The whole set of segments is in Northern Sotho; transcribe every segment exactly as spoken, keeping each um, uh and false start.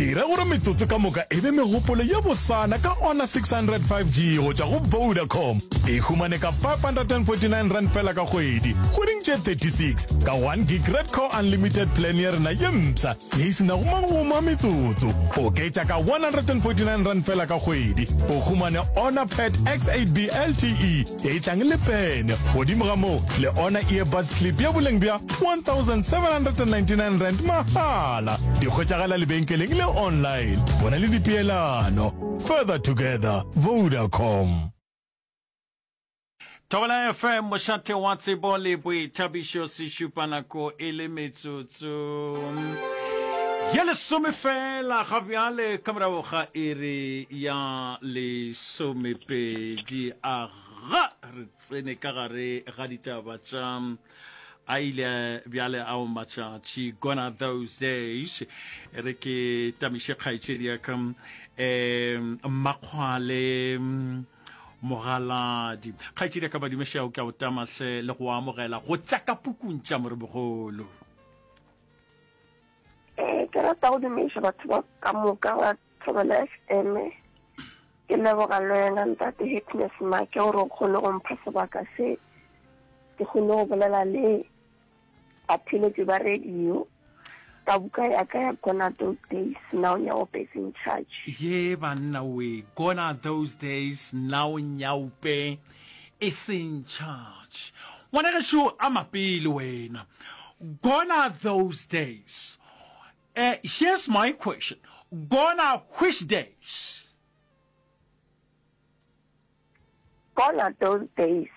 Dira gore metsotso ka moka e be megopolo ye bosana ka Honor six hundred five G go tšwa go Vodacom. E humane ka five hundred and forty nine rand fela ka kgwedi, kgweding tše thirty six, ka one gig Redco Unlimited plan ya rena ye mpsha ye e se nago magomo a metsotso. Oketša ka one hundred and forty nine rand fela ka kgwedi, o humane Honor Pad X eight B L T E ye e tlang le pene. Godimo ga moo, le Honor Earbuds Clip ya boleng bja one thousand seven hundred and ninety nine rand mahala. Di hwetšagala lebenkeleng le online. Bona le dipeelano. Further together, Vodacom. Thobela F M, mošate wa tsebo le boithabišo, sešupa nako e le metsotso ye lesome fela ga bjale ka morago ga iri ya lesomepedi. Aga re tsene ka gare ga ditaba tša a ile bjale ao matšatši, gone are those days. E re ke tamiše kgaetšedi ya ka um Mmakgwale Mogaladi. Kgaetšedi ya ka Badumešao, ke a o tamahle le go amogela go tša ka pukung tša Moremogolo. Eh, ke rata go dumiša batho ba ka moka ba Thobela F M. Ke leboga le wena ntate Happiness Make gore o kgone go mpha sebaka se ke kgone go bolela le batheeletši ba radio ka buka ya ka ya Gone Are Those Days, Now Nyaope is in Charge. Ye banna we, gone are those days, now Nyaope is in charge. Ngwana gešo a mapele wena. Gone are those days. Uh, here's my question. Gone are which days? Gone are those days.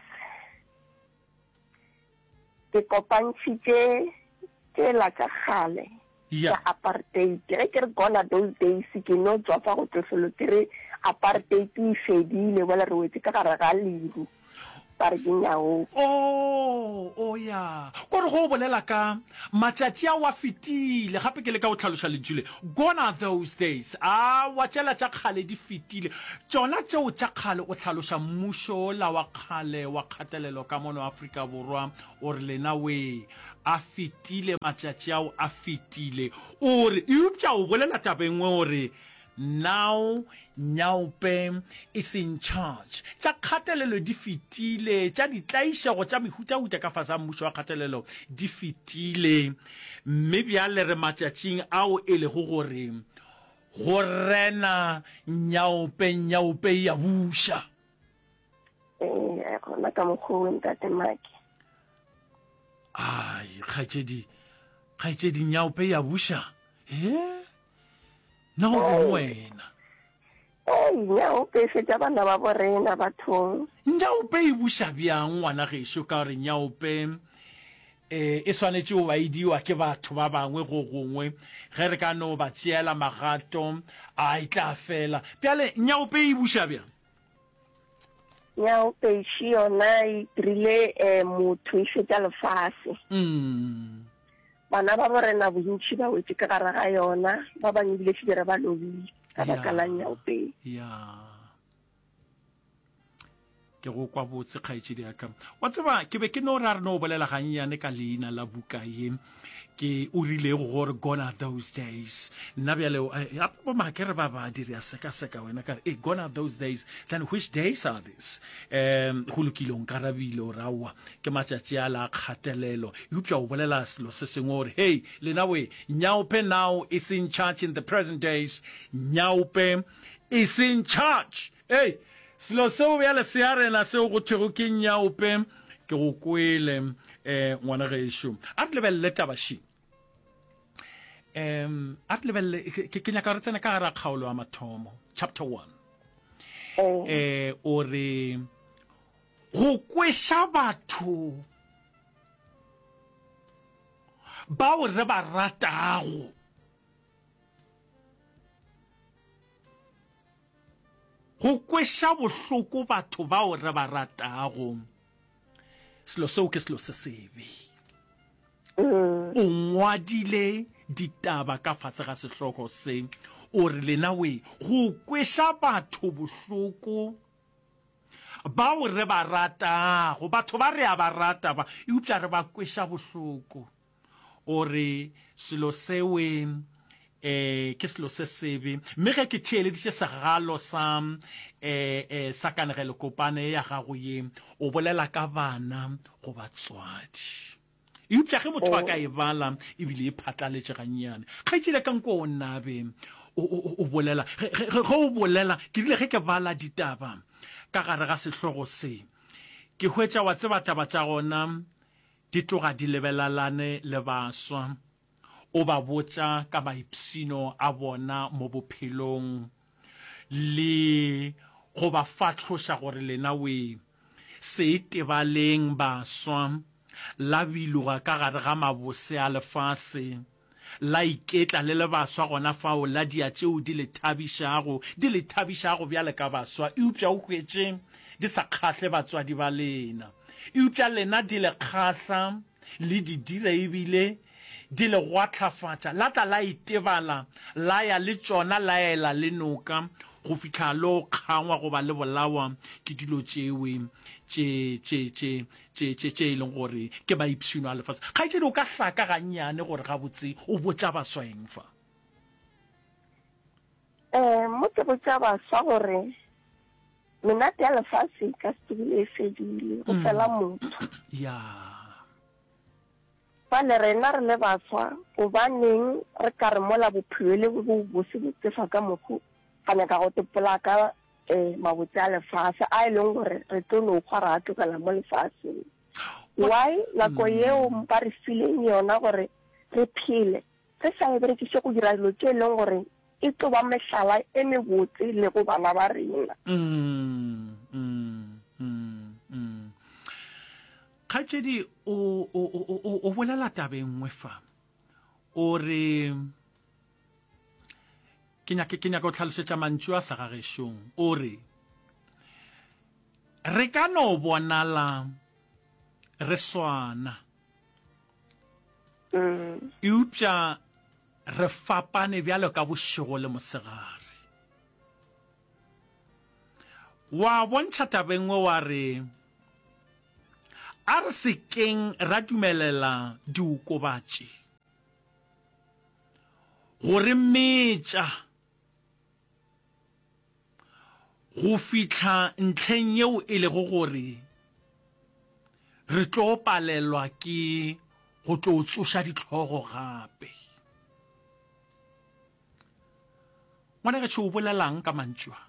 Ke kopantšhitše tšela tša kgale Yeah. tša apartheid. Ge ke re gone are those days, ke no tšwafa go tlohlolo ke re apartheid e fedile, bjale re wetše ka gare ga leru, ba re ke nyaope. Oh, oh ya. Kore go bolela ka matšatši ao a fetile, gape ke leka go hlaloša lentšu le, gone are those days. Aowa, tšela tša kgale di fetile. Tšona tšeo tša kgale, o hlaloša mmušo wola wa kgale wa kgatelelo ka mono Afrika Borwa, o re lena wee, a fetile matšatši ao a fetile. O re, eupša o bolela taba e nngwe o re, Now Nyaope is in charge. Tša kgatelelo di fetile, tša ditlaišego tša mehutahuta ka fase ga mmušo wa kgatelelo di fetile, mme bjale re matšatšing ao e lego gore go rena Nyaope, Nyaope e a buša. Ee, gona ka mokgwa o, Ntate Maki. Ai, kgaetšedi, kgaetšedi, Nyaope e a buša? He? Na o reng wena? Ei, nyaope e fetša bana ba borena bathong. Nyaope e buša bjang ngwana gešo ka gore nyaope e, e swanetše go ba e diwa ke batho ba bangwe go gongwe ge re ka no ba tšeela magato a e tla fela. Bjale nyaope e buša bjang? Nyaope še yona e dirile eh, motho e fetša lefase. Mm. Bana ba borena bontši ba wetše ka gare ga yona, ba bangwe ebile šetše re ba lobile ka baka la nyaope. Ya. Ke go kwa botse kgaetšedi ya ka. Wa tseba ke be ke no re a re no bolela gannyane ka leina la buka ye ke o rilego gore gone are those days. Nna bjale gape bo make re ba badi re a sekaseka wena ka re eh gone are those days, then which days are this? Um go lokile o nkarabile o re aowa ke matšatši a la kgatelelo, eupša o bolela selo se sengwe o re hei lena we, Nyaope now is in charge in the present days, Nyaope is in charge. Hei selo seo bjale se a rena seo go thwego ke Nyaope, ke go kwele um ngwana gešo. A re lebelele taba še. Um a re lebelele, ke, ke nyaka re tsene ka gare ga kgaolo ya mathomo, chapter one. Eh, o re go kweša batho bao re ba ratago go kweša bohloko batho bao re ba ratago, selo seo ke selo se sebe. O ngwadile ditaba ka fase ga sehlogo se, o re lena we, go kweša batho bohloko bao re ba ratago, batho ba re a ba rata ba, eupša re ba kweša bohloko. O re selo sewe um ke selo se sebe. Mme ge ke theeleditše segalo sa um um sa kanegelokopane ya gago ye, o bolela ka bana go batswadi. Eupša ge motho a ka e bala ebile e phatlaletše gannyane, kgaetšedi ya ka nko o nabe o, o, o bolela, ge, ge, ge o bolela, ke rile ge ke bala ditaba ka gare ga sehlogo se, ke hwetša wa tseba taba tša gona di tloga di lebelalane le baswa, o ba botša ka maipshino a bona mo bophelong le go ba fahloša gore lena we se itebaleng baswa, la biloga ka gare ga mabose a lefase, la iketla le le baswa gona fao, la dia tšeo di le thabišago, di le thabišago bjale ka baswa, eupša o hwetše di sa kgahle batswadi ba lena, eupša lena di le kgahla, le di dira ebile di le gwahlafatša, la tla la itebala, la ya le tšona, la ela le noka, go fihla lo kgangwa goba le bolawa ke dilo tšewe tše, tše, tše, tše, tše, tše e leng gore ke maipshino a lefase. Kgaetšedi, o ka hlaka gannyane gore gabotse o botša baswa eng fa? Um mo ke botša baswa gore menate ya lefase e ka se tsogile e fedile, go fela motho. Ya. Bjale rena re le baswa, gobaneng re ka re mola bophelo e le bo bose bo tsefa ka mokgo, ra nyaka go tepola ka um mabotse a lefase a e leng gore re tlo no hwa ra a tlogela mo lefaseng? Why nako yeo ba re fileng yona gore re phele, re sa e berekiše go dira dilo tše e leng gore e tlo ba mehlala e mebotse le go bana ba rena? Mm, mm, mm, mm. Kgaetšedi o, o, o, o, o bolela taba e nngwe fa. O re, ke nyake, ke nyaka go hlalosetša mantšu a sa gagešong. O re, re ka no bonala re swana, Mm. eupša re fapane bjalo ka bošego le mosegare. Wa bontšha taba e nngwe wa re, a re se keng ra dumelela diokobatši go re metša go fihla ntlheng yeo e lego gore re tlo palelwa ke go tlo tsoša dihlogo gape. Ngwanagešo, o bolelang ka mantšu a?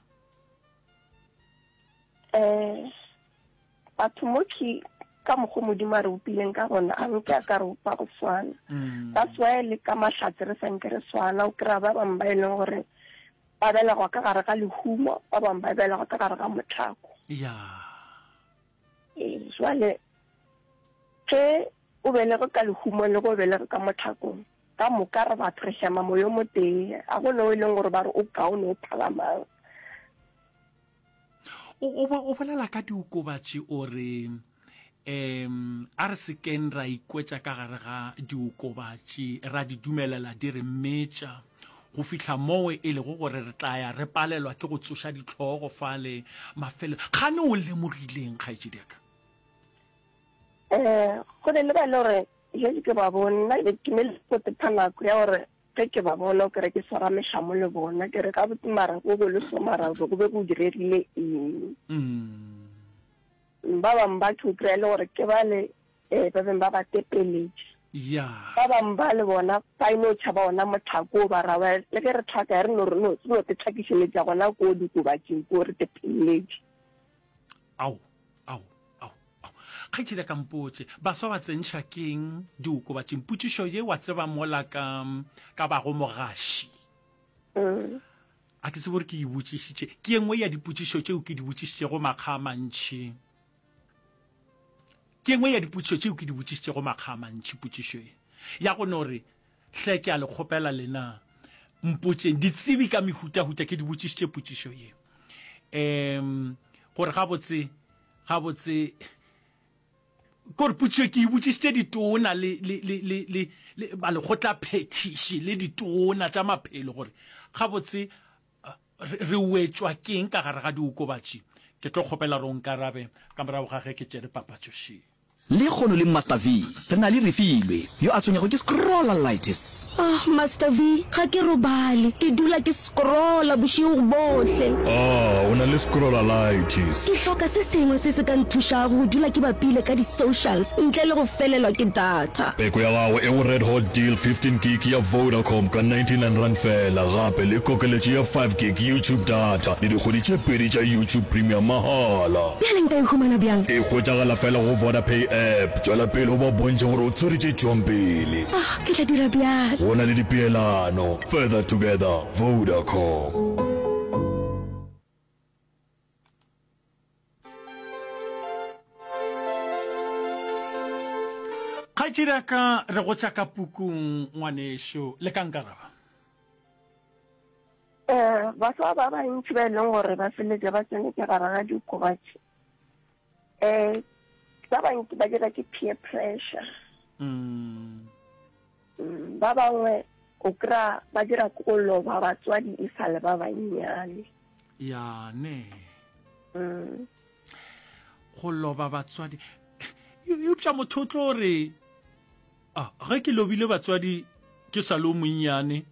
Um batho mo ke ka mokgo Modimo a re bopileng ka gona, a nke a ka re bopa go swana. That's why le ka mahlatse re sa nke re swana. O kry-a ba bangwe ba e leng gore ba belegwa ka gare ga lehumo, ba bangwe ba belegwa ka gare ga mohlako. Ya. Ee, jwale ge o belege ka lehumong le ge o belege ka mohlakong, ka moka re batho re hema moyo motee, a go no e leng gore ba re o kaone o phala mang. O, o, o bolela ka diokobatši o re um a re se keng ra ikwetša ka gare ga diokobatši, ra di dumelela di re metša go fihla moo e lego gore re tla ya re palelwa ke go tsoša dihlogo fale mafelo. Kgane o lemogileng, kgaetšedi ya ka? Um go ne le ba e le gore jale ke ba bone, nna ke ne le go tepha nako ya gore ge ke ba bona o kere ke swara mehlamo le bona, ke re gabotse mara go be le so mara go be go diregile eng. Mm. Ba bangwe ba ke o kry-a e le gore ke bale um ba beng ba ba tepeletše. Ya. Ba bangwe ba le bona ba e no tšhaba ona mohlako o ba ra ba le ge re hlaka re no re no re no te hlakišeletša gona ko dikobatšing ko re tepeleletše. Ao, ao, ao, ao. Kgaetšedi ya ka mpotše, baswa ba tsentšha keng diokobatšing? Potšišo ye wa tseba mola ka, ka bago mogaši. Mm. A ke tsebe gore ke e botšišitše. Ke ye nngwe ya dipotšišo tšeo ke di botšišitšego makga a mantši. Ke ye nngwe ya dipotšišo tšeo ke di botšišitšego makga a mantši, potšišo ye. Ya go no re, hle ke a le kgopela lena, mpotšeng, ditsebi ka mehutahuta, ke di botšišitše potšišo ye. Um, gore gabotse, gabotse, kore potšišo ke e botšišitše ditona le, le, le, le, le, le balekgotlaphethiši le ditona tša maphelo gore gabotse re, re wetšwa keng ka gare ga diokobatši. Ke tlo kgopela gore o nkarabe ka morago ga ge ke tšere papatšo še. Lekgono le Master V re na le Refilwe yo a tshwenyago ke scrollalitis. Oh, Master V, ga ke robale. Ke dula ke scrolla bošego bohle. Ah, o na le scrollalitis. Ke hloka se sengwe se se ka nthušago go dula ke bapile ka di-socials ntle le go felelwa ke data. Peko ya gago e go Red Hot Deal fifteen gig ya Vodacom ka ninety nine rand fela, gape le kokeletšo ya five gig YouTube data le dikgwedi tše pedi tša YouTube Premium mahala. Bjale nka e humana bjang? E hwetšagala fela go Vodapay app. Tšwela pele o ba bontšhe gore o tshwere tše tšwang pele. Ah, ke tla dira bjalo. Go na le dipeelano. Further together, Vodacom. Kgaetšedi ya ka, re go tša ka pukung, ngwanešu. Le ka nkaraba? Um baswa ba bantši ba e leng gore ba feletša ba tsene ke gare ga diokobatši, um ba bantši ba dira ke peer pressure. Mm. Mm, ba bangwe o kry-a ba dira ke go loba batswadi e sa le ba bannyane. Ya ne. Mm. Go loba batswadi. Eupša motho o tlo re, ah, ge ke lobile batswadi ke sa le o monnyane,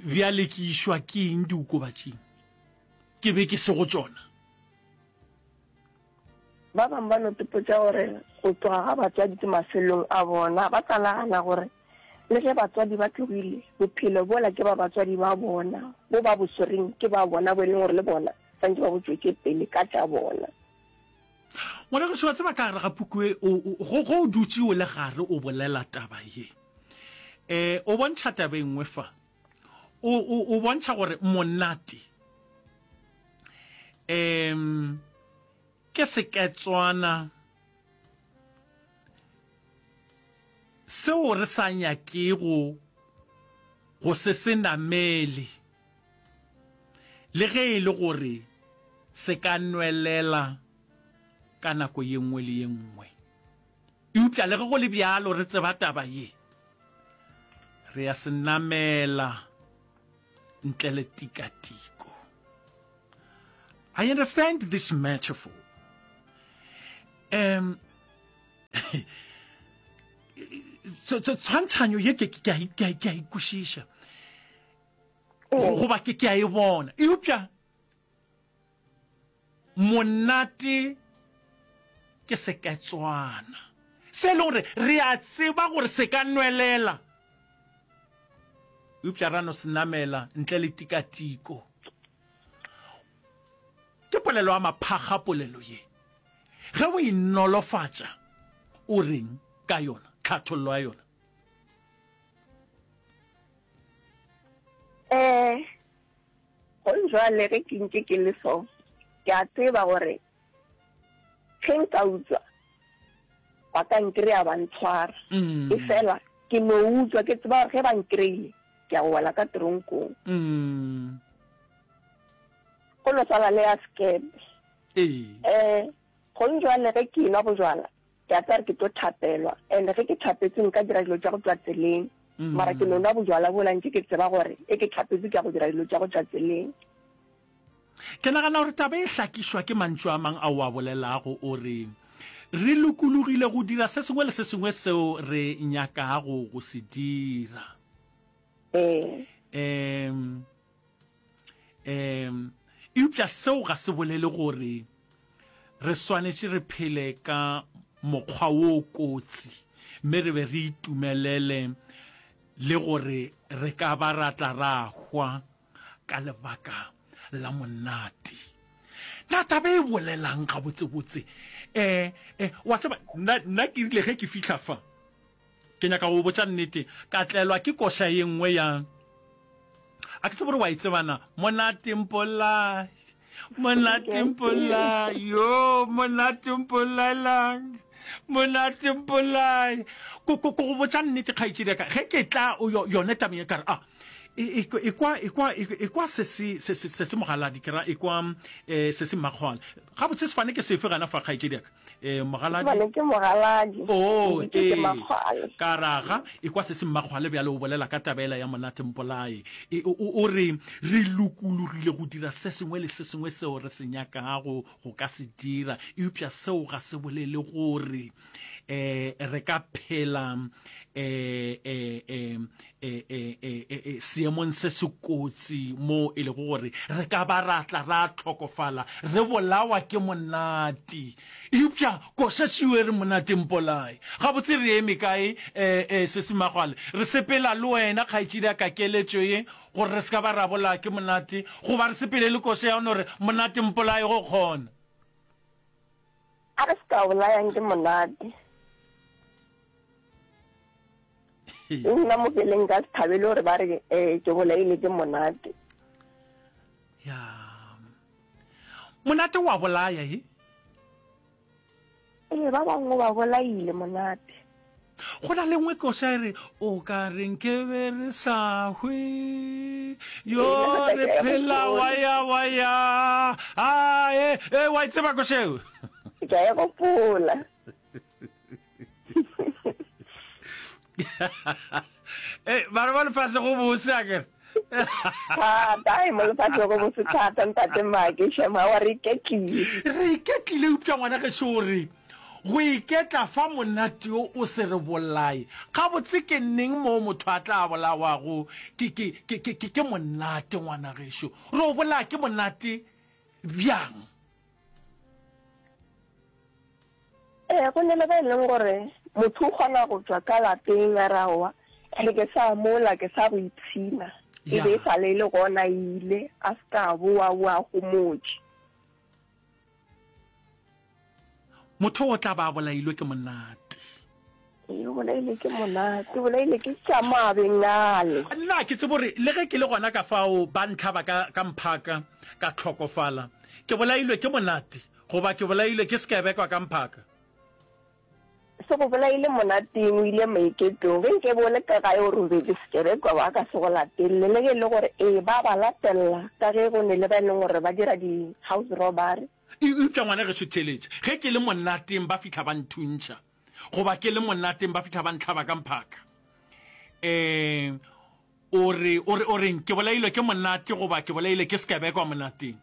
bjale ke išwa ke eng diokobatšing? Ke be ke se go tšona. Ba bangwe ba no topotša gore go tloga ga batswadi ke mafelong a bona, ba tla nagana gore le ge batswadi ba tlogile, bophelo bola ke ba batswadi ba bona, bo ba bo swereng ke ba bona, bo e leng gore le bona santše ba bo tšwetše pele ka tša bona. Ngwanagešo, wa tseba ka gare ga puku e, o, o, go, go o dutše o le gare o bolela taba ye, e, o bontšha taba e nngwe fa. O, o, o bontšha gore monate, um, ke seketswana seo re sa nyakego go se se namele, le ge e le gore se ka nwelela ka nako ye nngwe le ye nngwe. Eupša le ge go le bjalo re tseba taba ye, re ya se namela ntle le tikatiko. I understand this metaphor. Um, tshwantšhanyo ye ke ke a ke a ikwešiša goba ke ke a e bona, eupša monate ke seketswana se e leng gore re a tseba gore se ka nwelela, eupša ra no se namela ntle le tikatiko. Ke polelo ya maphakga polelo ye. Ge o e nolofatša, o reng ka yona, tlhathollo ya yona? Eh, gong jwale ge ke ntše ke le so, ke a tseba gore ge nka utswa, ba ka nkry-a ba ntshwara. Mm. E fela ke no utswa ke tseba gore ge ba nkry-ile, ke ya go wela ka tronkong. Mm. Go no swana le ya sekepe. Ee. Eh, gong jwale ge ke enwa bojwala, ke a tseba gore ke tlo thapelwa, and ge ke thapetswe nka dira dilo tša go tšwa tseleng. Mara ke no nwa bojwala bola ntše ke tseba gore e ke thapetswe ke ya go dira dilo tša go tšwa tseleng. Ke nagana gore taba e hlakišwa ke mantšu a mang ao o a bolelago, o re, Re lokologile go dira se sengwe le se sengwe seo re nyakago go se dira. Ee. Um, um, eupša seo ga se bolele gore re swanetše re phele ka mokgwa wo kotsi mme re be re itumelele le gore re ka ba ra tla ra hwa ka lebaka la monate. Na taba e bolelang gabotsebotse? Eh, eh, wa tseba, nna, nna ke rile ge ke fihla fa, ke nyaka go botša nnete, ka tlelwa ke koša ye nngwe ya, a ke tsebe gore wa e tseba na, Monate Mpolai, Monate Mpolai, yo, Monate Mpolailang, Monate Mpolai. Ko, ko, ko go botša nnete, kgaetšedi ya ka, ge ke tla o, yone tabeng ye, ka re, ah, e, e, ekwa, ekwa, ekwa se se, se, se, se se mogaladi, ke ra, ekwa, eh, se se mmakgwale. Gabotse sefane ke sefe gana fa, kgaetšedi ya ka? Eh, mogaladi. Bane ke mogaladi. Oh, Ke ke ee. Makgwale. Ka raga, ekwa se se Mmakgwale bjale o bolela ka taba yela ya monate mpolae. E, o, o, o re, re lokologile go dira se sengwe le se sengwe seo re se nyakago go ka se dira, eupša seo ga se bolele gore eh, re ka phela eh, eh, eh, eh, eh, eh, eh, eh, seemong se se kotsi mo e lego gore re ka ba ra tla ra hlokofala re bolawa ke monate. Eupša koša šio e re monate mpolae. Gabotse re eme kae, eh, eh, Sesi Magwale? Re sepela le wena, kgaetšedi ya ka, keletšo ye, gore re se ka ba ra bolaya ke monate, goba re sepele le koša ya no re monate mpolae go kgona? A re se ka bolayang ke monate. Nna mo keleng ka se thabele gore ba re eh, ke bolaile ke monate. Ya. Monate wa bolaya e? Ee, ba bangwe ba bolaile monate. Go na le nngwe koša e re, o ka re nke be re sa hwe, yo Ee, re ke a e phela gopola. wa ya wa ya. A, e, e, wa e tseba koša eo? Ke a e gopola. Eh, bana ba lefase go bose akere. Thata, ai, mo lefase go bose thata, ntate Make, shema wa re iketlile. Re iketlile, eupša ngwana gešo o re, go iketla fa monate yo o se re bolaye. Gabotse ke neng moo motho a tla bolawago ke, ke, ke, ke, ke, ke monate, ngwana gešo? Re o bolaya ke monate bjang? Ee, go ne le ba e leng gore motho o kgona go tšwa ka lapeng a re aowa, ene ke sa mola, ke sa go ipshina. E be e Ya. sa le e le gona e ile, a se ka boa, boa a homotše. Motho o tla ba a bolailwe ke monate. Ee, o bolailwe ke monate, o bolailwe ke tša mabeng ale. Nna ke tsebe gore le ge ke le gona ka fao ba ntlhaba ka, ka mphaka, ka hlokofala, ke bolailwe ke monate goba ke bolailwe ke sekebekwa ka mphaka. Se go bolaile monateng, o ile maiketlong. Ge nke be o le ka gae o robetše, sekebekwa ba ka se go latelele. Le ge e le gore ee, ba ba latelela ka ge go ne le ba e leng gore ba dira di-house robbery. Eupša ngwana gešo theeletša, ge ke le monateng ba fihla ba nthuntšha, goba ke le monateng ba fihla ba ntlhaba ka mphaka. Um, o re, o re, o reng, ke bolailwe ke monate goba ke bolailwe ke sekebekwa monateng?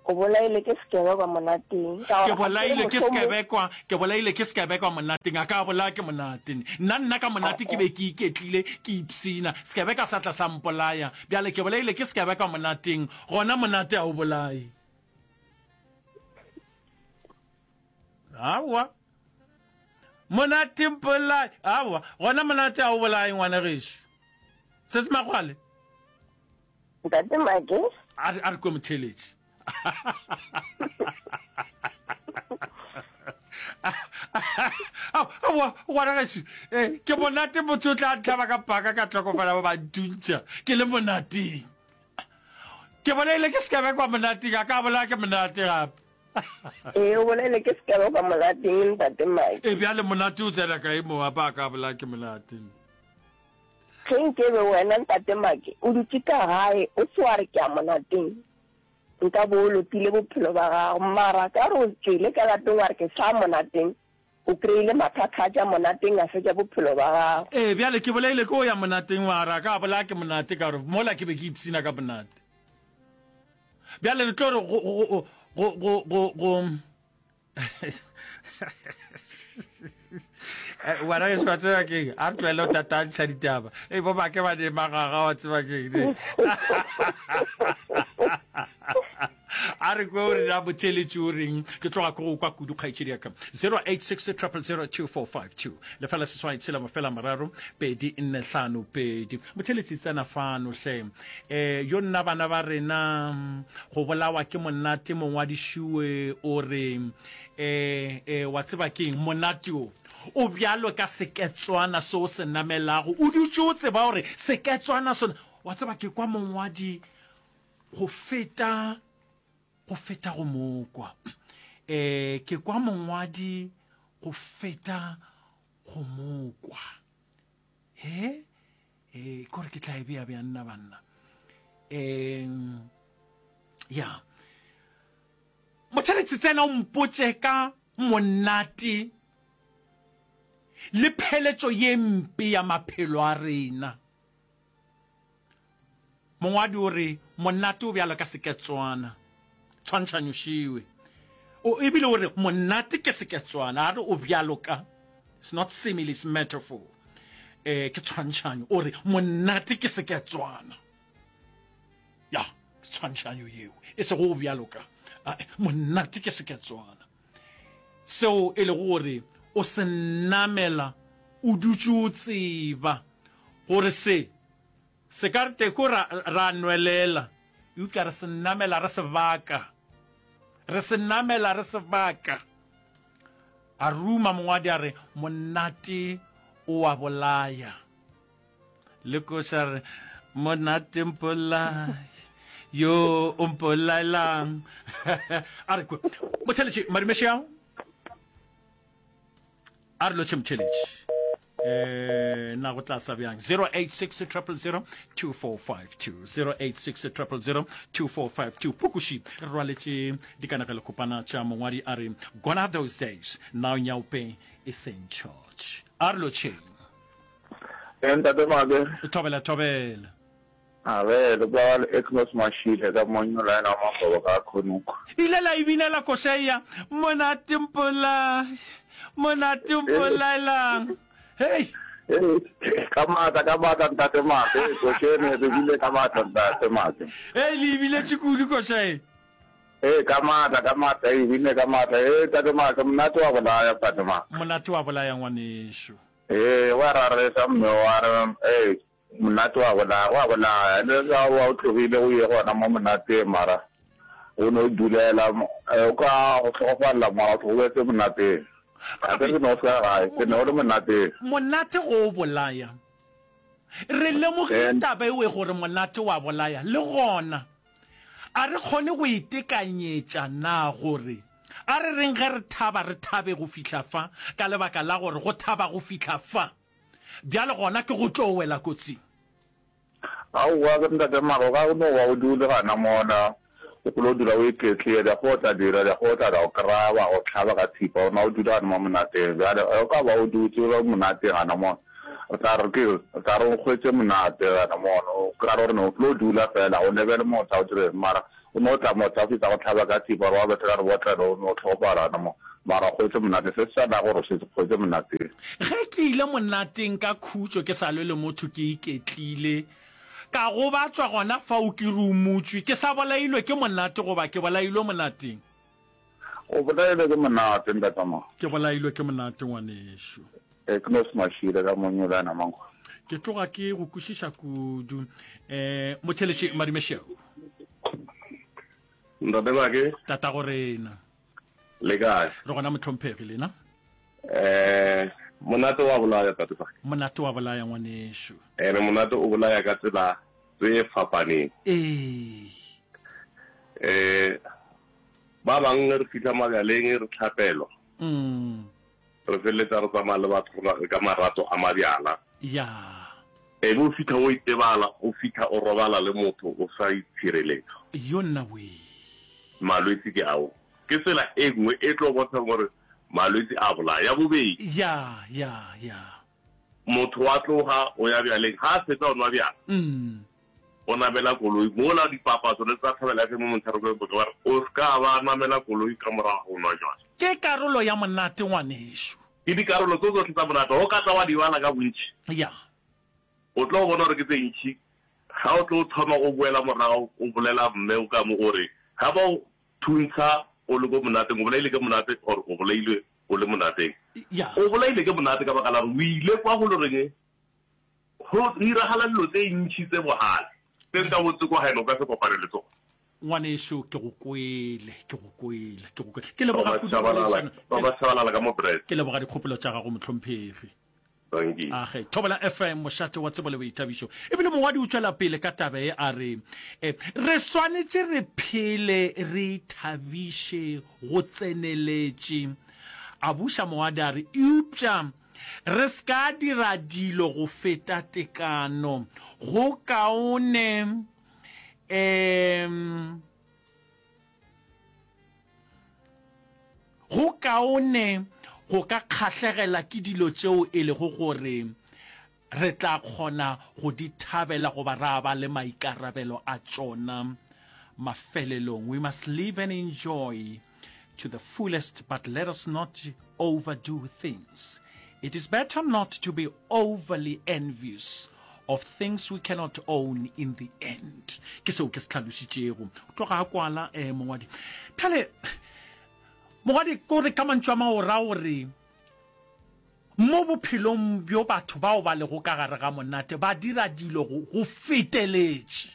O bolailwe ke sekebekwa monateng. Ka Ke gore ga ke re bolailwe ke mohlomong. sekebekwa, ke bolailwe ke sekebekwa monateng, a ka bolaya ke monate. Nna, nna ka monate ke be ke iketlile, ke ipshina, sekebekwa sa tla sa mpolaya. Bjale ke bolailwe ke sekebekwa monateng, gona monate a o bolaye. Aowa. Monate mpolaye. Aowa, gona monate a o bolaye ngwana gešo. Se se Magwale. Ntate Make. A re, a re kwe motheeletši. Aowa, ngwana gešo, eh, ke monate motho o tla ntlhaba ka paka ka tlhokofala ba ba ntuntšha ke le monateng. Ke bolaile ke sekebekwa monateng, a ka bolaya ke monate gape. Ee, o bolaile ke sekebekwa monateng, ntate Mike. E bjale monate o tsena kae mo, apa a ka bolaya ke monate. Ge nkebe wena, ntate Mike, o dutše ka gae, o se wa re ke ya monateng, nka bo o lotile bophelo ba gago. Mara ka gore o tšwele ka lapeng wa re ke sa monateng, o kry-ile mathata a tša monateng a fetša bophelo ba gago. Ee, bjale ke bolaile ke o ya monateng, mara ka bolaya ke monate ka gore mola ke be ke ipshina ka monate. Bjale re tlo re go, go, go, go, go, go, wena ke wa tseba keng, a re tlohele go tatantšha ditaba. Ei, bo make ba ne magaga, wa tseba keng ne. A re kwe o re na motheeletši o reng, ke tloga ke go kwa kudu kgaetšedi ya ka. zero eight six triple zero two four five two, lefela seswai tshela mafela mararo pedi nne hlano pedi. Motheeletši tsena fano hle. Eh, yo nna bana ba rena go bolawa ke monate. Mongwadišue o re, eh, eh, wa tseba keng, monate o o bjalo ka seketswana se o se namelago, o dutše o tseba gore seketswana sona, wa tseba ke kwa mongwadi go feta, go feta go mokwa. Eh, ke kwa mongwadi go feta go mokwa. He? Eh, kore ke tla e bea bjang nna banna. Eh, ya. Motheeletši tsena o mpotše ka monate le pheletšo ye mpe ya maphelo a rena. Mongwadi o re monate o bjalo ka seketswana, tshwantšhanyo šiwe. O ebile o re monate ke seketswana, a re o bjalo ka, it's not simile, it's metaphor, eh, ke tshwantšhanyo. O re monate ke seketswana. Ya, ke tshwantšhanyo yeo, e sego o bjalo ka, monate ke seketswana. Seo e lego gore o se namela o dutše o tseba gore se se ka re teko ra, ra nwelela, eupša re se namela re se baka. Re se namela re se baka. A ruma mongwadi a re, Monate o a bolaya. Le koša re, Monate mpolai, yo o mpolaelang. A re kwe. Motheletši, Madumešeang. A re lotšhe motheletši. Eh, na go tla sa bjang zero eight six triple zero two four five two, zero eight six triple zero two four five two. Pukuši re rwaletše dikanegelokopana tša mongwadi a re gone are those days, now Nyaope is in charge. A re lotšheng. Eh, ntate Make. Thobela, thobela. A re, le kwa le Agnes Mashile ka monyola ena wa Magobo ka Khonoko. Ile la e binela koša ya Monate Mpolai, Monate Mpolaelang. Hei! Hei, ka maatla, ka maatla ntate Make, koša ene re bile ka maatla ntate Make. Hei, le e biletše kudu koša e. Hei, ka maatla, ka maatla, e bine ka maatla. Hei, ntate Make, monate wa bolaya ntate Make. Monate wa bolaya ngwanešu. Hei, wa raresa mme wa re, hei, monate wa bolaya, wa bolaya. Le ga wa o tlogile o ye gona mo monateng mara o no dulela, o ka go hlokofalela mara o tlogobetse monateng. Ga ke re ke no fela gae, ke ne o le monateng. Monate go o bolaya. Re lemogile taba ewe gore monate wa bolaya, le gona a re kgone go itekanyetša na gore a re reng ge re thaba re thabe go fihla fa, ka lebaka la gore go thaba go fihla fa bjale gona ke go tlo wela kotsing. Aowa ke ntate mara o ka no ba o dule gana mona o kgolo dula o iketlile di go tla dira di go tla da o kry-a ba go hlaba ka thipa o na o dula gana mo monateng bjale o ka ba o dutse o le monateng gana mona re tla re ke re tla re o kgwetse monate gana mona o ka re gore ne o tlo dula fela o lebele motho o dire mara o no tla motho a fetsa go hlaba ka thipa gore wa betha ka rebotlelo o no hlokofala gana mo mara o kgwetse monate se se sa na gore o setse kgwetse monateng. Ge ke ile monateng ka khutšo ke sa lwe le motho ke iketlile ka gobatšwa gona fao ke rumotšwe ke sa bolailwe ke monate goba ke bolailwe monateng. O bolailwe ke monate ntatama. Ke bolailwe ke monate ngwanešu. E ke no se mašile ka monyolana mankgo. Ke tloga ke go kwešiša kudu. Eh, Motheletši Madumešeo. Ntate Make. Tatago rena. Le kae? Re gona mohlomphegi lena. Eh, monate wa bolaya tate Make. Monate wa bolaya ngwanešu. Ene monate o bolaya ka tsela tse fapaneng. Ee. Eh, ba bang re fihla mabjaleng re tlhapelwa. Mm. Re feleletsa re tsamaya le batho re ka marato a mabjala. Ya. Ebe o fihla o itebala, o fihla o robala le motho o sa itshireletsa. Yo nna wee. Malwetsi ke ao. Ke tsela e nngwe e tlo bontshang gore malwetsi a bolaya. Ya bobedi. Ya, ya, ya. Motho wa tloga o ya bjaleng, ga a fetsa o nwa bjala. Mm. O namela koloi mola dipapatso le tsa Thobela F M mo Montsherekong ba re o se ka ba namela koloi ka morago ga go nwa jwala. Ke karolo ya monate ngwanešu. Ke dikarolo tso tsohle tsa monate. O ka tla wa di bala ka bontši. Ya. O tlo bona gore ke tse ntši. Ga o tlo thoma o boela morago o bolela mme o ka mo o re ga ba o thuntsha o le ko monateng o bolaile ke monate or o bolailwe o le monateng. Ya. O bolaile ke monate ka baka la gore o ile kwa go lo reng go diragala dilo tse ntši tse bogale tse nka botse kwa gaeno o ka se kopane le tsona. Ngwanešu, ke go kwele, ke go kwele, ke go kwele. Ke leboga Ba kudu tshabalala, poledišano. ba ba tshabalala ka mo bread. Ke leboga dikgopolo tša gago, mohlomphegi. Dankie. Age, Thobela F M, mošate wa tsebo le boithabišo. Ebile mongwadi o tšwela pele ka taba ye a re, e, re swanetše re phele re ithabiše go tseneletše. A buša mongwadi a re, eupša re se ka dira dilo go feta tekano. Go kaone, em, Go kaone go ka kgahlegela ke dilo tšeo e lego gore re tla kgona go di thabela goba ra ba le maikarabelo a tšona mafelelong. We must live and enjoy to the fullest, but let us not overdo things. It is better not to be overly envious of things we cannot own in the end. Ke seo ke se hlalošitšego. O tloga a kwala eh, mongwadi. Bjale, mongwadi, ko re ka mantšu a mangwe o ra gore mo bophelong bjo batho bao ba lego ka gare ga monate ba dira dilo go, go feteletše.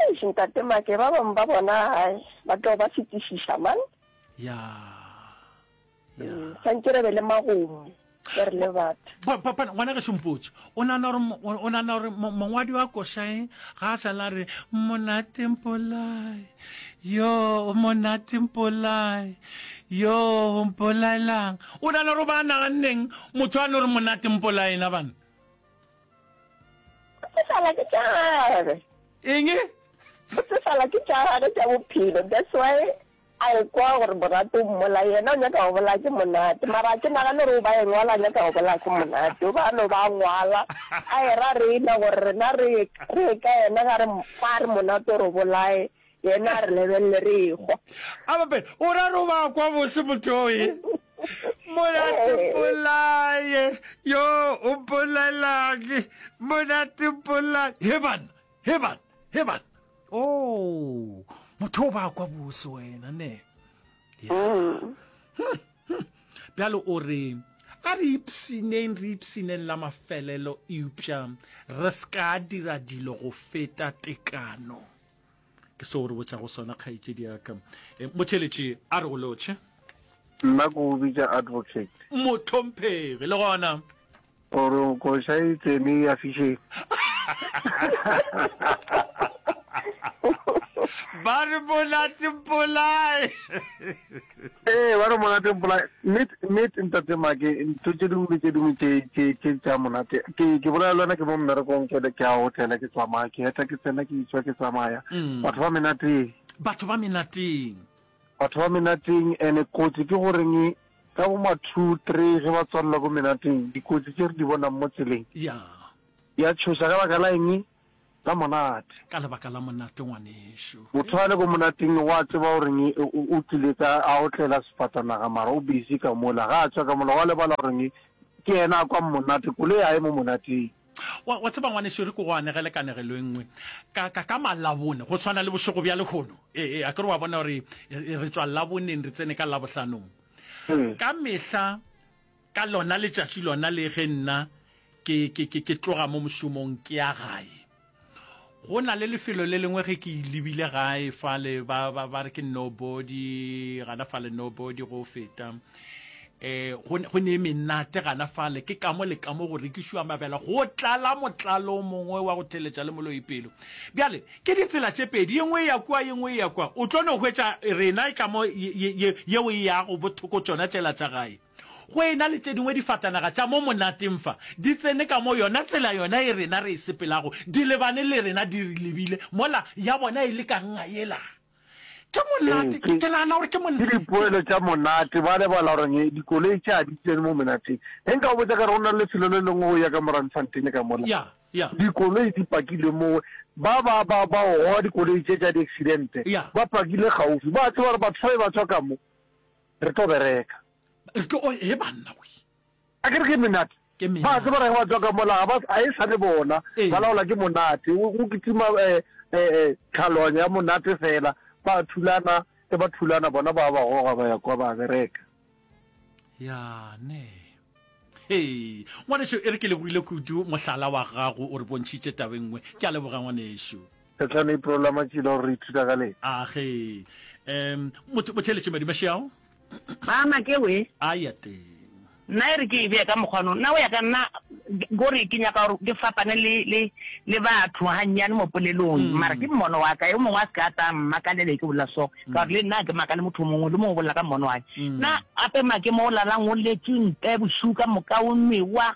Eish ntate Make, ba bangwe ba bona hai ba tlo ba fetišiša man. Ya. Ya. Swantše re be le magomo ge re le batho. Pa, pa, pa, ngwana gešo mpotše, o nagana gore, o nagana gore mongwadi wa koša e ga a šala a re monate mpolai, yo monate mpolai, yo mpolaelang, o nagana gore o ba a naganneng motho a no re monate mpolai na bana? Go tsofala ke tša gagwe. Eng? Go tsofala ke tša gagwe tša bophelo, that's why a ekwa gore Morato o mmolaya, yena o nyaka go bolaya ke Monate. Mara ga ke nagane gore o ba e ngwala a nyaka go bolaya ke Monate, o ba a no ba a ngwala a era rena gore rena re re ye ka yena ga re ga re Monate o re bolaye, yena a re lebelele re ehwa. A bape, o ra re o ba kwa bose motho o e? Monate mpolaye, yo o mpolaelang, Monate mpolaye. He banna, he banna, he banna. Oh, motho o ba kwa bose wena ne. Ya. Hmm, hmm. Bjale o re a re ipshineng, re ipshineng la mafelelo, eupša re se ka dira dilo go feta tekano. Ke seo re botšago sona kgaetšedi ya ka. E, motheeletši a re go lotšhe. Nna ke go bitša advocate. Mohlomphegi, le gona. Gore koša e tsene ya fišeng. Ba re monate mpolae. Ee, ba re monate mpolae. Nnete, nnete ntate Make, ntho tše dingwe le tše dingwe tše, tše, tše tša monate. Ke, ke bolela le wena ke mo mmerekong, ke, ke a otlela, ke tsamaya, ke eta ke tsena, ke etšwa ke tsamaya. Batho ba menateng. Batho ba menateng. Batho ba menateng, ene kotsi ke goreng ka bo ma two, three ge ba tswalelwa ko menateng, dikotsi tše re di bonang mo tseleng. Ya. Ya tšhoša ka baka la eng? La monate. Ka lebaka la monate ngwanešu. Motho a le ko monateng wa tseba goreng o tlile ka a otlela sefatanaga mara o busy ka mola, ga a tšwa ka mola wa lebala goreng ke yena a kwang monate, koloi ga e mo monateng. Wa, wa tseba ngwanešu, re ke go anegele kanegelo e nngwe. Ka, ka, ka Malabone, go swana le bošego bja lehono, e, e, akere wa bona gore re tšwa Laboneng re tsene ka Labohlanong. Ka mehla ka lona letšatši lona le ge nna ke, ke, ke, ke tloga mo mošomong ke ya gae, go na le lefelo le lengwe ge ke lebile gae fale, ba, ba, ba re ke Nobody, gana fale Nobody go feta. Eh, go, go ne menate gana fale, ke ka mo le ka mo go rekišwa mabela, go tlala motlalo o mongwe wa go theletša le moloi pelo. Bjale, ke ditsela tše pedi, ye nngwe e ya kua, ye nngwe e ya kua. O tlo no hwetša rena e ka mo ye, ye, ye, yeo e yago bothoko tšona tšela tša gae. Go e na le tše dingwe difatanaga tša mo monateng fa, di tsene ka mo yona tsela yona e rena re e sepelago, di lebane le rena di re lebile, mola ya bona e le ka nnga yela. Ke monate, Ee, ke, ke nagana gore ke mon-. Ke dipoelo tša monate. Ba lebala gore nge dikoloi tše ga di tsene mo menateng. Ge nka go botša ka re go na le lefelo le lengwe go ya ka mo Randfontein ka mola, Ya, ya. dikoloi di pakilwe mo, ba ba ba ba go goga dikoloi tše tša di-accident-e, Ya. ba pakile kgaufsi. Ba tseba gore batho fa ba tšwa ka mo, re tlo bereka. Re tlo, oh, he banna we. A ke re ke menate? Ke Ba menate. tseba gore ge ba tšwa ka mola ga ba, ga e sa le bona, Ee. ba laola ke monate. Go, go kitima eh, eh, eh, tlhaloganyo ya monate fela. Ba thulana, ge ba thulana bona ba ba goga ba ya kwa ba bereka. Ya, ne. Hei, ngwanešu, e re ke lebogile kudu mohlala wa gago o re bontšhitše taba e nngwe. Ke a leboga ngwanešu. Setlhano April la matšila gore re ithuta ka lena. A ge. Um, motho, motheeletši Madimašiao. Mama ke we. A ya teng. Nna e re ke e bee ka mokgwa no. Nna go ya ka nna kore ke nyaka gore ke fapane le le le batho gannyane mo polelong. Mara ke mmono wa ka, yo mongwe a se ka a tla mmakalele ke bolela so. Ka gore le nna ga ke makale motho mongwe le mongwe o bolela ka mmono wa ge. Nna gape make mo o lalang o letše ntle bošego ka moka o nwewa,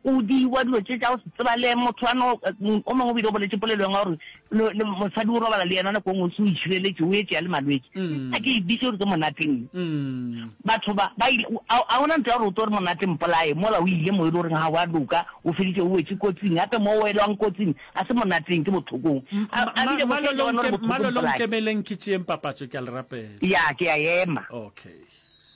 O diwa dilo tše tša go se tsebale motho a no, o mongwe o bile o boletše polelo engwe ya gore le, le mosadi o robala le yena nako engwe o se o itšhireletše, o etše ya le malwetši. A ke e bitše gore ke monateng. Batho ba, ba ile, a, a gona ntho ya gore o tlo re monate mpolaye, mola o ile mo e le goreng ga wa loka, o feditše o wetše kotsing, gape mo o welwang kotsing ga se monateng, ke bohlokong. A, a bile go fetša wena o re bohloko Malolo mpolaye. nkemeleng ke tšeeng papatšo, ke a le rapela. Ya, ke a ema. Okay.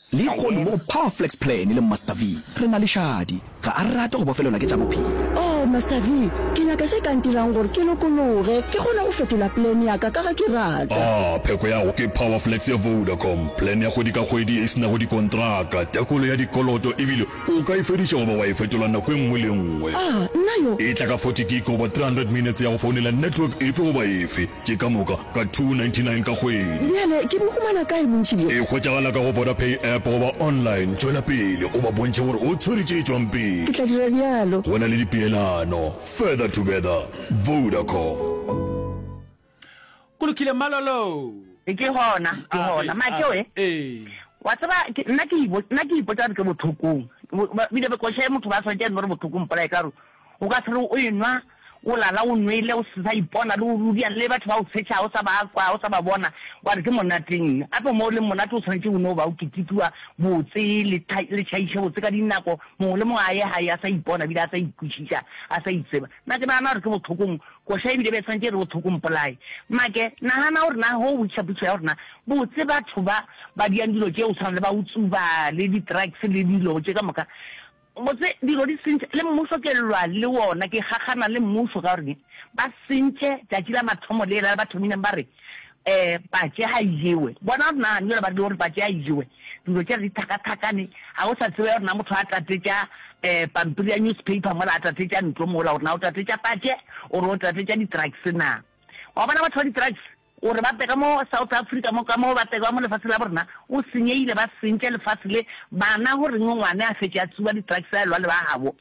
Lehono mo go Power Flex Plan le Master V, re na le Shadi. Ga a rate go bofelelwa ke tša bophelo. Oh, Master V, ke nyaka se ka ntirang gore ke lokologe, ke kgone go fetola plan ya ka ka ge ke rata. Ah, pheko ya go ke Power Flex ya Vodacom, plan ya kgwedi ka kgwedi e se nago dikontraka, tekolo ya dikoloto ebile o ka e fediša goba wa e fetola nako e nngwe le e nngwe. Ah, nna yo! E tla ka forty gig goba three hundred minutes ya go founela network efe goba efe. Tše ka moka ka two ninety nine ka kgwedi. Bjale ke bo humana kae bontši bjo? E hwetšagala ka go Vodapay app goba online. Tšwela pele o ba bontšhe gore o tshwere tše tšwang pele. Ke tla dira bjalo. Go na le dipeelano. Further together. Vodacom. Go lokile Malolo. Ke gona, ke gona. Make we. Ee. Wa tseba, ke, nna ke ibo, nna ke ipotša gore ke bohlokong. Bile koša ye motho ba swanetše a no re bohlokong mpolaye ka gore o ka se re o enwa O lala o nwele, o se sa ipona le o ruriana le batho ba o tshetšhago, o sa ba kwa, o sa ba bona, wa re ke monateng. Gape mo o leng monate o swanetše o no ba o ketekiwa botse, le le tšhaiše botse ka dinako, mongwe le mongwe a ye gae a sa ipona ebile a sa ikwešiša, a sa itseba. Nna ke nagana gore ke bohlokong, koša ebile be e swanetše e re bohlokong mpolaye. Make, nagana gore na ge o botšiša potšišo ya gore na botse batho ba ba diang dilo tše go tshwana le ba go tsuba le di-drugs le dilo tše ka moka, Botse dilo di sentše, le mmušo ke lwa le wona, ke kgakgana le mmušo ka gore ba sentše tšatši la mathomo lela ba thomileng ba re um patše ga e jewe. Bona gore na bjale ba rile gore patše ga e jewe, dilo tšela di thakathakane, ga o sa tseba gore na motho a tatetša um pampiri ya newspaper mola a tatetša ntlo mola gore na o tatetša patše or o tatetša di-drugs na. Wa bona batho ba di-drugs Gore ba tle ka mo South Africa mo, ka mo ba tle ka mo lefaseng la borena, o senyehile, ba sentše lefase le, bana go reng ngwana a fetše a tsuba di-drugs a elwa le ba gabo,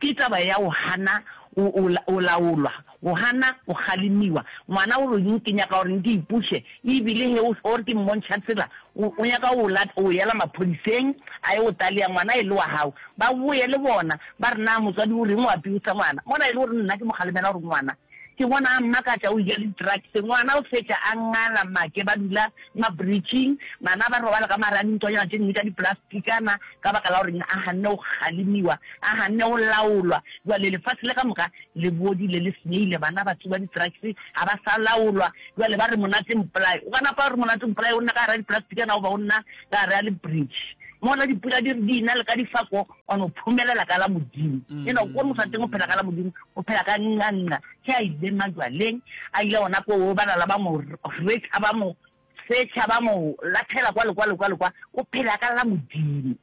ke taba ya go gana go, go, go laolwa, go gana go kgalemiwa. Ngwana o reng ke nyaka gore ke ipuše, ebile ge o, o re ke mmontšha tsela, o, o nyaka go lat, go yela maphodiseng a ye go talea ngwana e le wa gago, ba boye le bona ba re na motswadi o reng o abuser ngwana, mola e le gore nna ke mo kgalemela gore ngwana Ke bona a mmakatša o ja di-drugs. Ngwana o fetša a ngala make ba dula ma-bridging, bana ba robala ka mare a dintwanyana tše dingwe tša dipolastikana ka baka la gore a ganne go kgalemiwa, a ganne go laolwa. Bjale lefase le ka moka le bodile, le senyehile, bana ba tsuba di-drugs, ga ba sa laolwa. Bjale ba re monate mpolaye. O ka napa wa re monate mpolaye o nna ka gare ga dipolastikana goba o nna ka gare ga le-bridge. Mola dipula di re di na le ka difako, wa no phomelela ka la Modimo. E no gore motho wa teng o phela ka la Modimo, o phela ka nqa nqa. Ge a ile majwaleng, a ile gona koo, ba lala ba mo retha, ba mo setšha, ba mo lathela kwa le kwa le kwa le kwa, o phela ka la Modimo.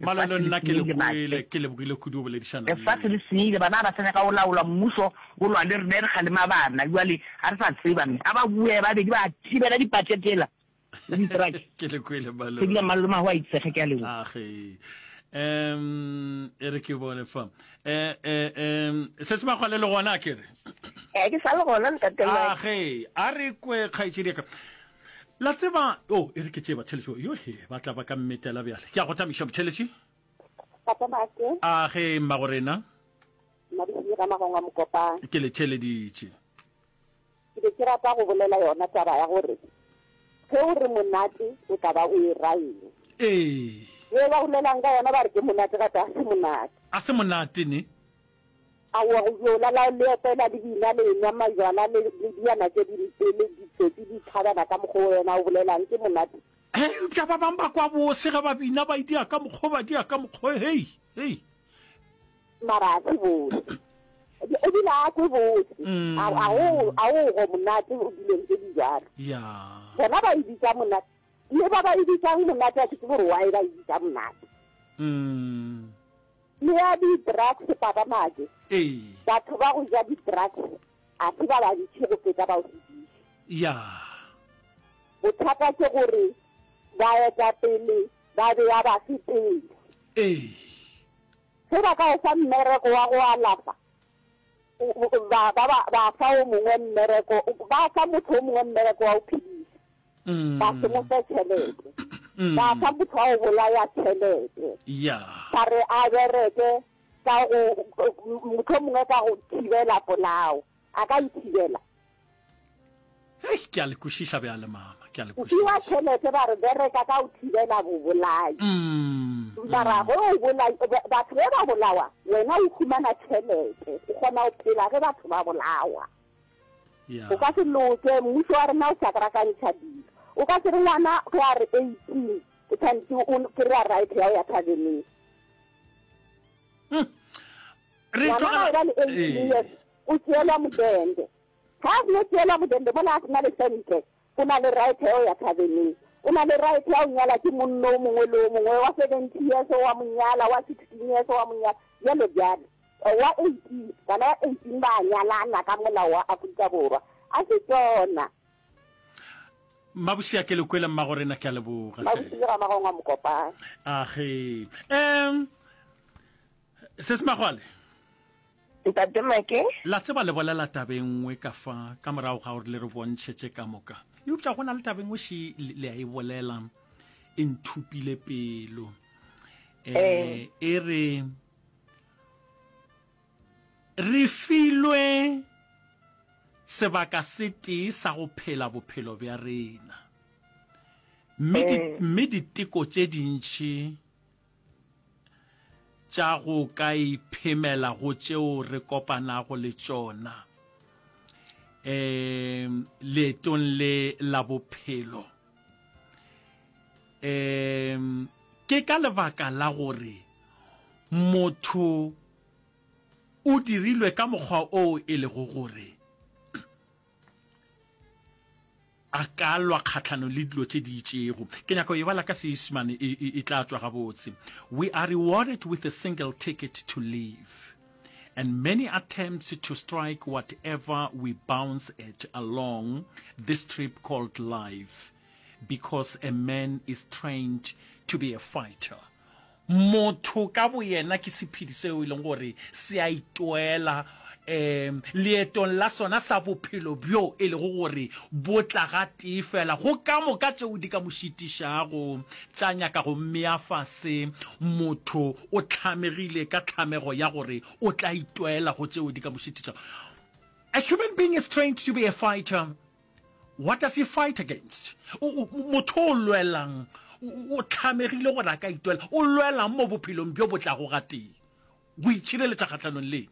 Malolo, Lefase le nna ke le senyehile, kwele, Make. ke lebogile kudu go boledišana le Lefase le senyehile, bana ga ba sa nyaka go laolwa, mmušo o lwa le rena, re kgalema bana, bjale ga re sa tseba. Mme a ba boe babedi ba thibela dipatše tšela. Le di-drugs. Ke le kwele malome. Ke dula malome a go a itsege ke a leboga. Age. Um e re ke bone fa. Eh eh um se se bagwale le gona ke re. Eh ke sa le gona ntate Mike. Age a re kwe kgaetšedi ya ka. La tseba oh e re ke tšee batheletši yo he ba tla ba ka mmetela bjale. Ke a go tamiša motheletši. Papa Make. Age mmago rena. Mmadisidi ga Magongwa Mokopane. Ke le theleditše. Ke be ke rata go bolela yona taba ya gore ge o re monate o tla ba o e ra eng. Ee. Ye ba bolelang ka yona ba re ke monate gate ga se monate. A se monate ne? Aowa go yo lala le opela le bina le enwa majwala le le diana tše dimpe le ditsotsi di tlhabana ka mokgwa o wena o bolelang ke monate. Hei eupša ba bang ba kwa bose ge ba bina ba itia ka mokgwa ba dia ka mokgwa hei hei. Mara a se bose. Ebile a kwe bose. A a go a go go monate o dilong tse di jalo. Ya. Bona ba e bitsa monate. Le ba ba e bitsang monate a ke tsebe gore why ba e bitsa monate. Mm. Le ya di drugs papa Make. Ee. Batho ba go ja di drugs a se ba bantši go feta ba go se di ja. Ya. Bothata ke gore baetapele ba bea bafe pele. Ee. Ge ba ka o fa mmereko wa go alafa, ba, ba, ba, ba fa o mongwe mmereko, ba fa motho o mongwe mmereko wa go phediša, ba se mo fe tšhelete. Ba fa motho wa go bolaya tšhelete, ba re a bereke ka go mohlomongwe ka go thibela polao. A ka e thibela? Hei, ke a le kwešiša bjale, mama, ke a le O fiwa kwešiša. tšhelete ba re bereka ka go thibela bobolai. Mm, Mara mm. ge o bolai, batho ge ba bolawa, wena o humana tšhelete, o kgona go phela ge batho ba bolawa. Ya. O ka se loke, mmušo wa rena o šakrakantšha dilo. O ka se re ngwana ge a re eighteen o tshwanetše o kry-a right ya go ya thabeneng. Mm. Re Ngwana ga tlogela e ba le eighteen ee. years o tšeelwa modende. Ga a seno tšeelwa modende mola a se na le sente, o na le right ya go ya thabeneng. O na le right ya go nyala ke monno o mongwe le o mongwe, wa seventy years wa mo nyala, wa sixteen years wa mo nyala, bjalo bjalo. Wa eighteen, bana ba eighteen ba a nyalana ka molao wa Afrika Borwa. A se tšona. Mmabošia ke le kwele mmagorena ke a leboga hle. Mmaboši ke Ramagong wa Mokopane. Age. Um Sesi Magwale. Ntate Make. La tseba le bolela taba e nngwe ka fa ka morago ga gore le re bontšhe tše ka moka. Eupša go na le taba e nngwe še le a e bolela e nthupile pelo. Eh e re re filwe sebaka se tee sa go phela bophelo bja rena. Mme di, mme diteko tše dintši tša go ka iphemela go tšeo re kopanago le tšona um leetong le la bophelo um ke ka lebaka la gore motho o dirilwe ka mokgwa oo e lego gore a ka lwa kgahlanong le dilo tše di itšego. Ke nyaka go e bala ka Seisemane, e, e, e tla tšwa gabotse. We are rewarded with a single ticket to live, and many attempts to strike whatever we bounce at along this trip called life, because a man is trained to be a fighter. Motho ka boyena ke sephedi seo e leng gore se a itwela um leetong la sona sa bophelo bjo e lego gore bo tla gatee fela go ka moka tšeo di ka mo šitišago tša nyaka go mmea fase. Motho o hlamegile ka tlhamego ya gore o tla itwela go tšeo di ka mo šitišago. A human being is trained to be a fighter. What does he fight against? O, o, motho o lwelang, o, o hlamegile gore a ka itwela. O lwelang mo bophelong bjo bo tlago gatee? Go itšhireletša kgahlanong le eng?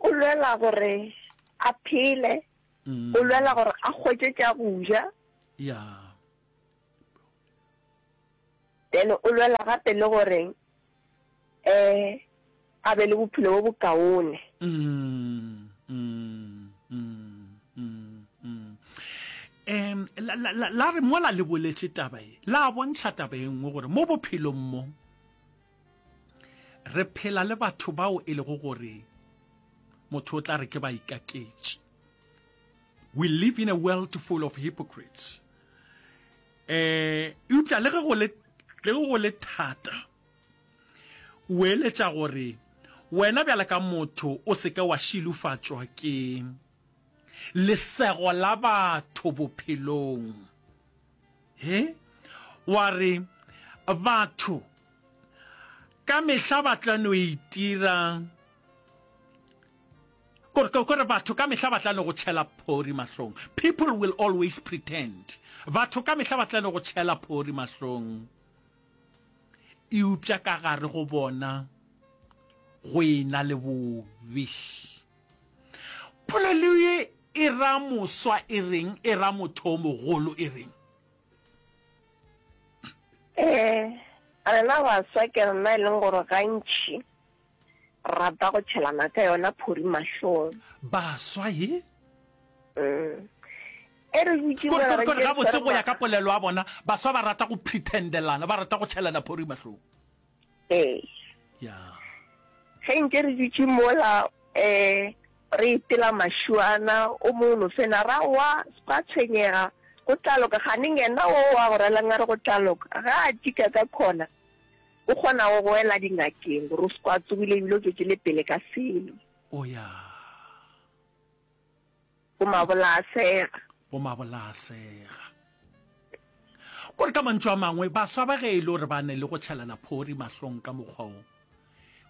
O lwela gore a phele, o lwela gore a hwetše tša go ja. Ya. Then o lwela gape le gore um a be le bophelo bo bokaone. Mm, mm, mm, mm, mm. Um, la, la, la, la re mola le boletše taba ye, la bontšha taba e nngwe gore mo bophelong mo re phela le batho bao e lego gore motho o tla re ke baikaketši. We live in a world full of hypocrites. Eh, eupša le ge go le le ge go le thata, o eletša gore wena bjale ka motho o se ke wa šilofatšwa ke lesego la batho bophelong. He, wa re batho ka mehla ba tla no itira Kore, kore batho ka mehla ba tla no go tšhela phori mahlong. People will always pretend. Batho ka mehla ba tla no go tšhela phori mahlong. Eupša ka gare go bona go e na le bobe. Polelo ye e ra moswa e reng? E ra motho o mogolo e reng? Ee, rena baswa ke rena e leng gore gantši rata go tšhelana ka yona phori mahlong. Baswa ye? Mm. E re dutše Kore, mola kore, re kore ntše re gabotse swere go ya ka ma- polelo ya bona, baswa ba rata go pretendelana, ba rata go tšhelana phori mahlong. Ee. Ya. Ge ntše re dutše mola um re itela mašuana, o mongwe no fena ra wa, se ka tshwenyega, go tla loka. Kganeng yena o wa go relang a re go tla loka, ge a tika ka khona, o kgona go go ela dingakeng gore o se kwa tsogile ebile o tšwetše le pele ka selo. O ya. Bo mabola a sega. Bo mabola a sega. Kore ka mantšu a mangwe, baswa ba ge e le gore ba ne le go tšhelana phori mahlong ka mokgwa wo,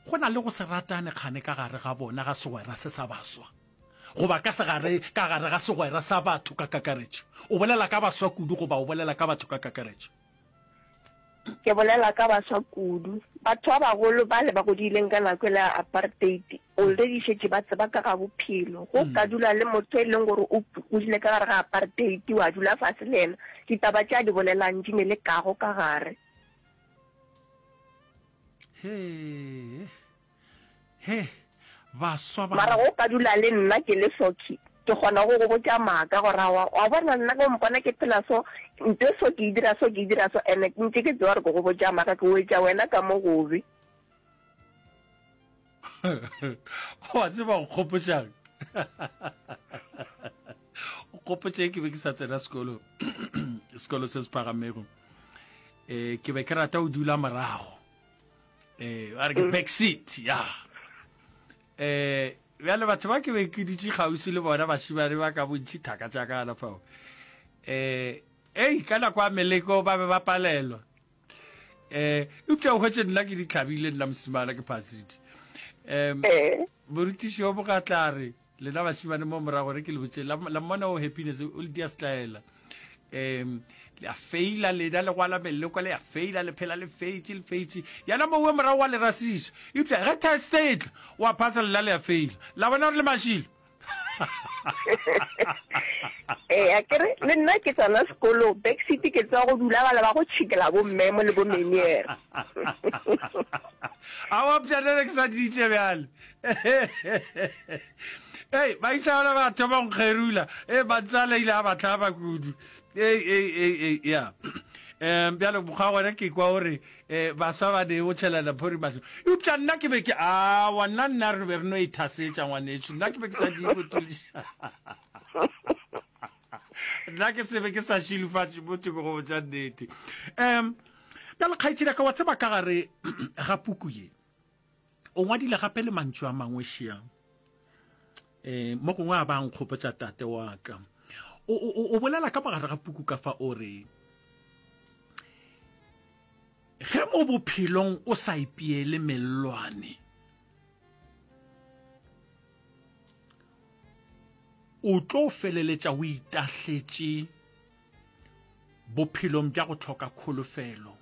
go na le go se ratane kgane ka gare ga bona ga segwera se sa baswa, goba ka segare ka gare ga segwera sa batho ka kakaretšo. O bolela ka baswa kudu goba o bolela ka batho ka kakaretšo? Ke bolela ka baswa kudu. Batho ba bagolo bale ba godileng ka nako yela ya apartheid already šetše ba tseba ka ga bophelo. Go ka dula le motho e leng gore o godile ka gare ga apartheid wa dula fase le yena, ditaba tše a di bolelang di ne le kago ka gare. Hee, he, baswa ba. Mara go ka dula le nna ke le Socky, ke kgona go go botša maaka gore aowa, wa bona nna ge o mpona ke phela so, nto e so ke e dira so, ke e dira so, and ntše ke tseba gore ke go botša maaka, ke wetša wena ka mo gobe. Wa tseba go kgopotšang? O kgopotše ke be ke sa tsena sekolo, sekolo se se phagamego. Eh, ke be ke rata go dula morago. Eh, ba re ke back seat, ya. Eh, bjale batho ba ke be ke dutše kgauswi le bona bašemane ba ka bontši thaka tša ka gana fao. Eh, ei, ka nako ya meleko ba be ba palelwa. Eh, eupša o hwetše nna ke di hlabile nna mosimana ke phasitše. Um, morutiši wa mogatla a re, Lena bašemane mo morago re ke le botše, la, la mmona o Happiness o le dia setlaela. Um, le a feila lena le gwala meleko le a feila le phela le feitše le feitše. Yana mowe morago wa le rasiša. Eupša ge test e tla, wa phasa lena le a feila. La bona gore le mašilo. Ee, a kere le nna ke tsena sekolo backseat ke tseba go dula bale ba go tšhikela bo mmemo le bo meniere. Aowa pšalele ke sa ditše bjale. Ei, baisa bana ba thoma go nkgerula. Ei, matswale ile a ba hlaba kudu. Ei, ei, ei, ei, ya. Um, bjale mokgwa gona ke kwa gore um baswa ba ne o tšhelana phori mahlo. Eupša nna ke be ke, aowa, nna nna re be re no ithasetša ngwanešu. Nna ke be ke sa di go thuša. Nna ke se be ke sa šilofatše motho ke go botša nnete. Um, bjale kgaetšedi ya ka, wa tseba ka gare ga puku ye, O ngwadile gape le mantšu a mangwe šia. E, mo gongwe a ba nkgopotša tate wa ka. O, o, o bolela ka mogare ga puku ka fa o re, ge mo bophelong o sa ipeele mellwane, o tlo feleletša o itahletše bophelong bja go hloka kholofelo,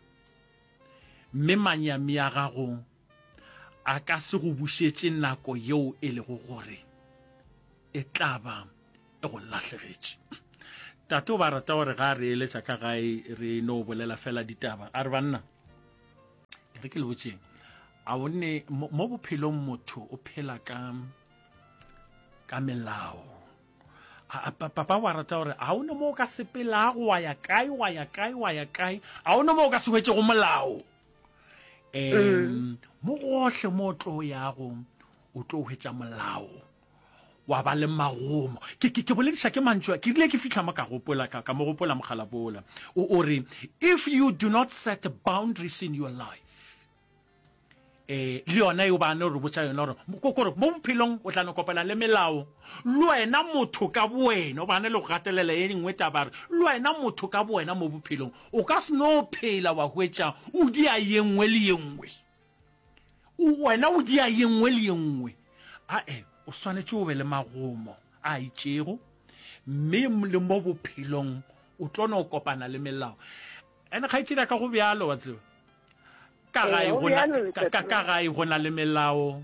mme manyami a gago a ka se go bušetše nako yeo e lego gore e tla ba e go lahlegetše. Tate o ba rata gore ga a re eletša ka gae re no bolela fela ditaba. A re banna, e re ke le botšeng, a o ne mo bophelong motho o phela ka ka melao. A, papa wa rata gore a o ne mo o ka sepelago wa ya kae wa ya kae wa ya kae, a o ne mo o ka se hwetšego molao. Um mo gohle mo o tlo yago o tlo hwetša molao wa ba le magomo. Ke, ke, ke bolediša ke mantšu a, ke rile ke fihla mo ka gopola, ka, ka mo gopola mokgalabola. O, o re, if you do not set boundaries in your life, eh, le yona eo ba no re botša yona gore, ko, kore mo bophelong o tla no kopana le melao, le wena motho ka bowena, o ba ne le go gatelela ye nngwe taba, re, le wena motho ka bowena mo bophelong, O ka se no phela wa hwetša o dia ye nngwe le ye nngwe. O, wena o dia ye nngwe le ye nngwe. Ae, o swanetše o be le magomo a itšego, mme le mo bophelong o tlo no kopana le melao. Ene kgaetšedi ya ka go bjalo, wa tseba. Ka gae go na, ka, ka, ka gae go na le melao.